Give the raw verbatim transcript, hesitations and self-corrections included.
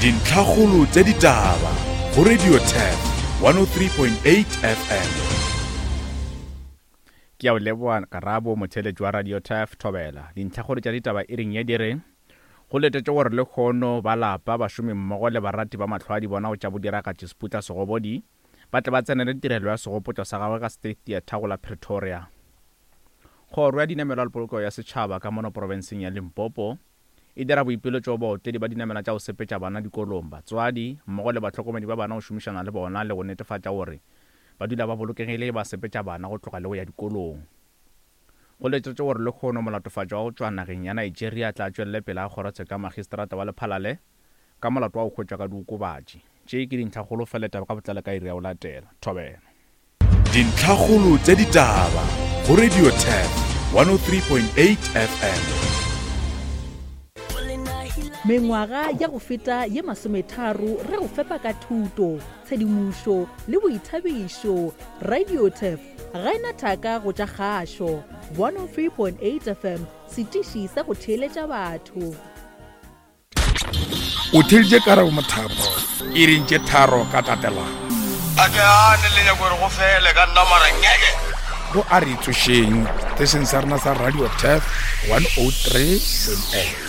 Dintlhakgolo tša ditaba go Radio Turf one oh three point eight F M. Ke a o leboa Karabo, motheeletši wa Radio Turf Thobela. Dintlhakgolo tša ditaba e reng ye di re go letetše gore lekgono ba lapa, bašomi mmogo le barati ba mahlo a di bona go tša bodiragatši Seputla Segobodi ba tle ba tsenele tirelo ya segopotšo sa gagwe ka State Theatre go la Pretoria. Kgoro ya dinamelwa le polokego ya setšhaba ka mono profenseng ya Limpopo e dira boipiletšo go baotledi ba dinamelwa tša go sepetša bana dikolong, batswadi mmogo le bahlokomedi ba bana go šomišana le bona le go netefatša gore ba dula ba bolokegile ba sepetša bana go tloga le go ya dikolong. Go letetše gore lekgono molatofatšwa wa go tšwa nageng ya Nigeria tla tšwelele pele ga kgorotsheko ya magistrata wa Lephalale ka molato wa go hwetšwa ka diokobatši. Tše ke dintlhakgolo fela taba ka botlalo ka iri ya go latela. Thobela. Dintlhakgolo tša ditaba go Radio Turf one oh three point eight F M. Mengwaga ya go feta ye masometharo re go fepa ka thuto, tshedimošo le boithabišo. Radio Turf ga ena thaka go tša kgašo. one oh three point eight F M, setiši sa go theeletša batho. O theeditše Karabo Mothapo iring tše tharo ka tatelano. A ke gane le nyako gore go fele ka nna mara ngeke. Go a re tsošeng setešeng sa rena sa Radio Turf one oh three point eight.